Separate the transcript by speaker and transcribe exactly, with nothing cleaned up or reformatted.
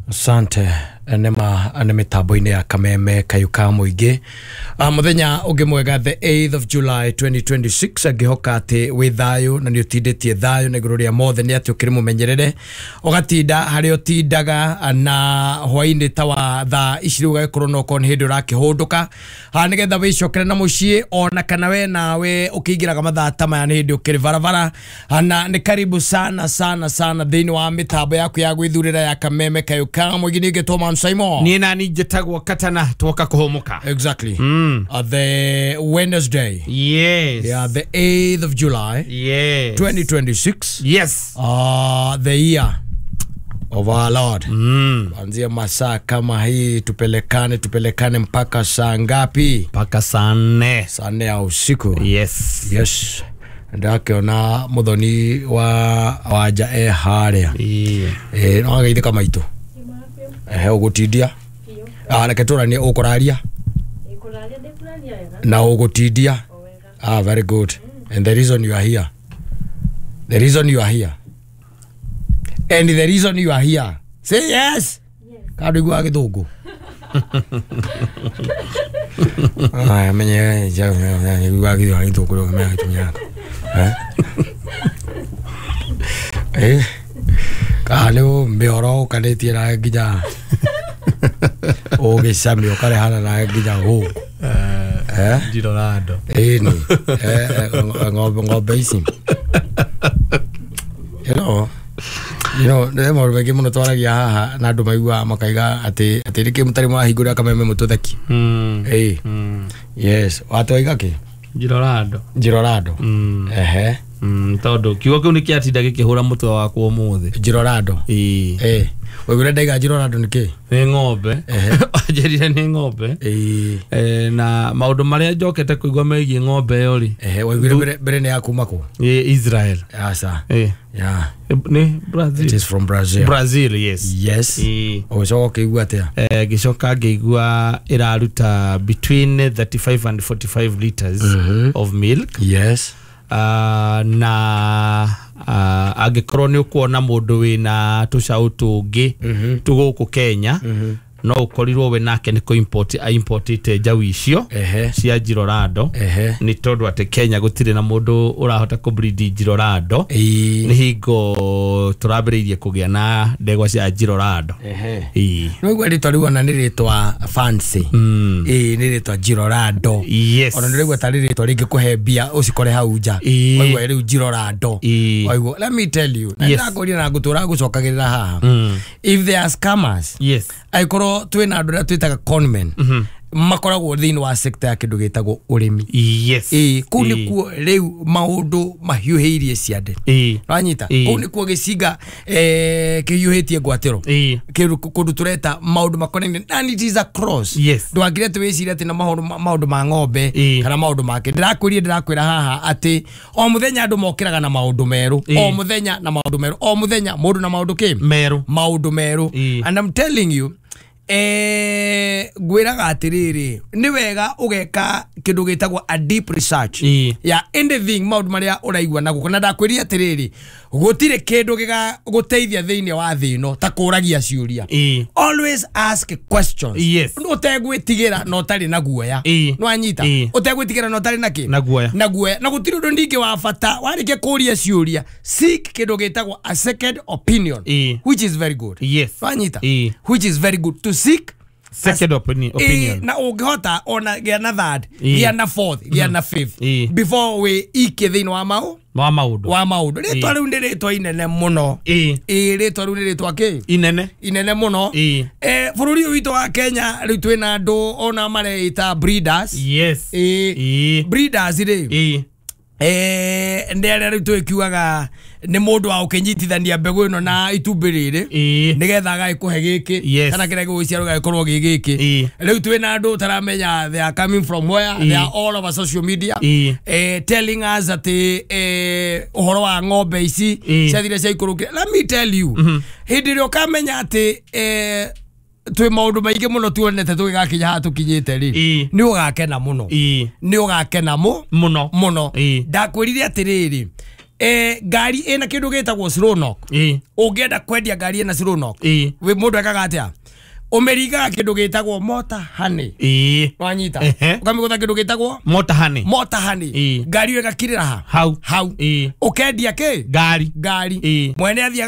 Speaker 1: Asante nema nĩ mĩtambo-inĩ ya Kameme Kayũ ka Mũingĩ. Ah, mũthenya ũngĩ mwega, the eighth of July twenty twenty-six. Angĩhoka atĩ wĩ thayũ na nĩ ũtindĩtie thayũ na igũrũ rĩa mothe nĩ atĩ ũkĩrĩ mũmenyerere, ũgatinda harĩa ũtindaga na hwainĩ ta wa thaa ici rĩu, ũgagĩkorwo no okorwo nĩ hĩndĩ ũrakĩhũndũka ha nĩgetha wĩcokere na mũciĩ, ona kana we nawe ũkĩingĩraga mathaa ta maya nĩ hĩndĩ ũkĩrĩ barabara. Na nĩ karibu sana sana sana thĩinĩ wa mĩtambo yaku ya gwĩthurĩra ya Kameme Kayũ ka Mũingĩ. Ningĩ Toman Simon.
Speaker 2: Niĩ nani njĩtagwo Katana, twoka kũhũmũka.
Speaker 1: Exactly. mm. uh, the Wednesday.
Speaker 2: Yes.
Speaker 1: Yeah, the eighth of July
Speaker 2: yes
Speaker 1: twenty twenty-six.
Speaker 2: Yes.
Speaker 1: uh, the year of our Lord.
Speaker 2: mm.
Speaker 1: Kuanzia masaa kama hii tupelekane tupelekane mpaka saa ngapi?
Speaker 2: Mpaka saa nne.
Speaker 1: Saa nne ya usiku.
Speaker 2: Yes.
Speaker 1: Yes, ndakiona muthoni wa wanja e haria.
Speaker 2: Ĩĩ.
Speaker 1: Eh, no ageithĩka maitũ. Ehe, ũgũtindia. Ah, reke tũranie, ũkũraria na ũgũtindia. Ah, very good. And the reason you are here, the reason you are here, and the reason you are here, say yes. Kandå iguaga gĩthũngũ. Aya, menye iguaga gĩthũngũ menya gĩtũmi yako. Eh eh kana nĩ mĩhoro ũkanĩtie na nginya ũgĩcamia ũkarehana na nginya gũkũ, eh?
Speaker 2: Njirorando.
Speaker 1: Ĩni ng'ombe ng'ombe ici, you know you know nĩ maũndũ maingĩ mũno twaragia haha na andũ maiguaga makaiga atĩ atĩ nĩkĩ mũtarĩ mwahingũrĩra Kameme mũtũtheki.
Speaker 2: Mm.
Speaker 1: Ĩĩ.
Speaker 2: Mm.
Speaker 1: Yes, watwaiga kĩ?
Speaker 2: Njirorando.
Speaker 1: Njirorando.
Speaker 2: Mm.
Speaker 1: Ehe.
Speaker 2: Mm, tondũ kiugo kĩu nĩ kĩatinda gĩkĩhũra mũtwe wakwa ũmũthĩ.
Speaker 1: Njirorando.
Speaker 2: Ĩĩ.
Speaker 1: Ĩĩ, waiguire ndaiga Njirorando nĩ kĩ?
Speaker 2: Nĩ ng'ombe.
Speaker 1: Ehe.
Speaker 2: Wanjĩrire nĩ ng'ombe.
Speaker 1: Ĩĩ.
Speaker 2: Eh, na maũndũ marĩa njokete kũigua megiĩ ng'ombe ĩyo rĩ.
Speaker 1: Ehe, waiguire mbere mbere nĩ ya kuma kũ?
Speaker 2: Ĩ Israel.
Speaker 1: Aca.
Speaker 2: Ĩ.
Speaker 1: Yeah.
Speaker 2: Nĩ Brazil.
Speaker 1: It is from Brazil.
Speaker 2: Brazil, yes.
Speaker 1: Yes.
Speaker 2: Ĩĩ.
Speaker 1: Ũgĩcoka ũkĩigua atĩa?
Speaker 2: Eh, ngĩcoka ngĩigua ĩraruta between thirty-five and forty-five liters of milk.
Speaker 1: Yes.
Speaker 2: uh, na uh, angĩkorwo nĩ ũkuona mũndũ wĩna tũcaũ tũngĩ tũgũkũ Kenya, no ũkorirwo we nake nĩ kũ-import aimportĩte njaũ icio
Speaker 1: Ehe.
Speaker 2: cia Njirorando,
Speaker 1: Ehe.
Speaker 2: nĩ tondũ atĩ Kenya gũtirĩ na mũndũ ũrahota kũ-breed Njirorando.
Speaker 1: Ĩĩ.
Speaker 2: Nĩ hingo tũrambĩrĩirie kũgĩa na ndegwa cia Njirorando.
Speaker 1: Ehe.
Speaker 2: Ĩĩ.
Speaker 1: Nĩwaigua rĩtwa rĩu ona nĩ rĩtwa fancy. Ĩĩ, nĩ rĩtwa Njirorando.
Speaker 2: Yes.
Speaker 1: Ona nĩraigua tarĩ rĩtwa rĩngĩkũhe mbia ũcikore hau nja.
Speaker 2: Ĩĩ.
Speaker 1: Waigua rĩu Njirorando.
Speaker 2: Ĩĩ.
Speaker 1: Waigua, let me tell you, na
Speaker 2: Yes.
Speaker 1: ndakũria na ngũtũra gũcokagĩrĩra haha,
Speaker 2: Mm.
Speaker 1: if they are scammers,
Speaker 2: yes
Speaker 1: angĩkorwo twĩna andũ arĩa twĩtaga conmen makoragwo thĩinĩ wa sector ya kĩndũ gĩtagwo ũrĩmi.
Speaker 2: Yes
Speaker 1: Ĩĩ, kũu
Speaker 2: Ĩĩ.
Speaker 1: nĩkuo rĩu maũndũ mahiũhĩirie ciande.
Speaker 2: Ĩĩ.
Speaker 1: Wanyita?
Speaker 2: Ĩĩ.
Speaker 1: Kũu nĩkuo gĩcinga eh, kĩhiũhĩtie ngwatĩro.
Speaker 2: Ĩĩ.
Speaker 1: Kĩndũ kũndũ tũreta maũndũ makonainie and it is a cross.
Speaker 2: Yes.
Speaker 1: Ndwangire atĩ wĩcirie atĩ na maũndũ maũndũ ma ng'ombe
Speaker 2: Ĩĩ.
Speaker 1: kana maũndũ make. Ndĩrakwĩrie, ndĩrakwĩra haha atĩ o mũthenya andũ mokĩraga na maũndũ merũ.
Speaker 2: Ĩĩ.
Speaker 1: O mũthenya na maũndũ merũ, o mũthenya mũndũ na maũndũ kĩ?
Speaker 2: Merũ.
Speaker 1: Maũndũ merũ.
Speaker 2: Ĩĩ.
Speaker 1: And I'm telling you, eh, ngwĩraga atĩrĩrĩ, nĩ wega ũgeka kĩndũ gĩtagwo a deep research
Speaker 2: Ĩĩ.
Speaker 1: ya anything, maũndũ marĩa ũraigua na gũkũ. Na ndakwĩria atĩrĩrĩ, gũtirĩ kĩndũ gĩgagũteithia thĩinĩ wa thĩ ĩno ta kũragia ciũria.
Speaker 2: Ĩĩ.
Speaker 1: Always ask questions.
Speaker 2: Yes.
Speaker 1: Ũtegwĩtigĩra na ũtarĩ na guoya.
Speaker 2: Ĩĩ.
Speaker 1: Nĩwanyita?
Speaker 2: Ĩĩ.
Speaker 1: Ũtegwĩtigĩra na ũtarĩ na kĩ?
Speaker 2: Na guoya.
Speaker 1: Na guoya. Na gũtirĩ ũndũ ningĩ wa bata, warĩkia kũria ciũria, seek kĩndũ gĩtagwo a second opinion,
Speaker 2: Ĩĩ.
Speaker 1: which is very good.
Speaker 2: Yes.
Speaker 1: Wanyita?
Speaker 2: Ĩĩ.
Speaker 1: Which is very good to seek
Speaker 2: second opinion, opinion.
Speaker 1: Ĩĩ, na ũngĩhota ona gĩa na third,
Speaker 2: Ĩĩ.
Speaker 1: gĩa na fourth, gĩa na fifth
Speaker 2: Ĩĩ.
Speaker 1: before wĩ ikie thĩinĩ wa mau
Speaker 2: wa maũndũ.
Speaker 1: Wa maũndũ. Rĩtwa
Speaker 2: Ĩĩ.
Speaker 1: rĩu nĩ rĩtwa inene mũno.
Speaker 2: Ĩĩ.
Speaker 1: Ĩĩ, rĩtwa rĩu nĩ rĩtwa kĩ?
Speaker 2: Inene.
Speaker 1: Inene mũno.
Speaker 2: Ĩĩ.
Speaker 1: Eh, bũrũri ũyũ witũ wa Kenya rĩu twĩna andũ ona mareita breeders.
Speaker 2: Yes.
Speaker 1: Ĩĩ.
Speaker 2: Ĩĩ.
Speaker 1: Breeders rĩ,
Speaker 2: Ĩĩ.
Speaker 1: eh, nĩ arĩa rĩu twĩkiugaga nĩ mũndũ wa ũkĩnyitithania mbegũ ĩno na itumbĩ rĩrĩ
Speaker 2: Ĩĩ.
Speaker 1: nĩgetha agagĩkũhe gĩkĩ
Speaker 2: Yes.
Speaker 1: kana kĩrĩa gĩgũciarwo gagĩkorwo gĩ gĩkĩ.
Speaker 2: Ĩĩ.
Speaker 1: Rĩu twĩna andũ ũtaramenya they are coming from where.
Speaker 2: Ĩĩ.
Speaker 1: They are all over social media
Speaker 2: Ĩĩ.
Speaker 1: eh, telling us atĩ eh, ũhoro wa ng'ombe ici
Speaker 2: Ĩĩ.
Speaker 1: ciathire ciaikũrũkire. Let me tell you, hĩndĩ ĩrĩa ũkamenya atĩ eh, twĩ maũndũ maingĩ mũno tuonete tũgĩgakinya haha tũkinyĩte rĩ,
Speaker 2: Ĩĩ.
Speaker 1: nĩ ũgakena mũno.
Speaker 2: Ĩĩ.
Speaker 1: Nĩ ũgakena mũ
Speaker 2: mũno.
Speaker 1: Mũno.
Speaker 2: Ĩĩ.
Speaker 1: Ndakwĩrire atĩrĩrĩ, Eh, ngari ĩna kĩndũ gĩtagwo slow knock.
Speaker 2: Ĩĩ.
Speaker 1: Ũngĩenda kwendia ngari ĩna slow knock,
Speaker 2: Ĩĩ.
Speaker 1: wĩ mũndũ ekaga atĩa? Ũmĩringaga kĩndũ gĩtagwo mota honey.
Speaker 2: Ĩĩ.
Speaker 1: Wanyita?
Speaker 2: Ehe.
Speaker 1: Ũkamĩgũtha kĩndũ gĩtagwo
Speaker 2: mota honey.
Speaker 1: Mota honey.
Speaker 2: Ĩĩ.
Speaker 1: Ngari ĩyo ĩgakirĩra ha?
Speaker 2: Hau.
Speaker 1: Hau.
Speaker 2: Ĩĩ.
Speaker 1: Ũkendia kĩ?
Speaker 2: Ngari.
Speaker 1: Ngari.
Speaker 2: Ĩĩ.
Speaker 1: Mwene athiaga.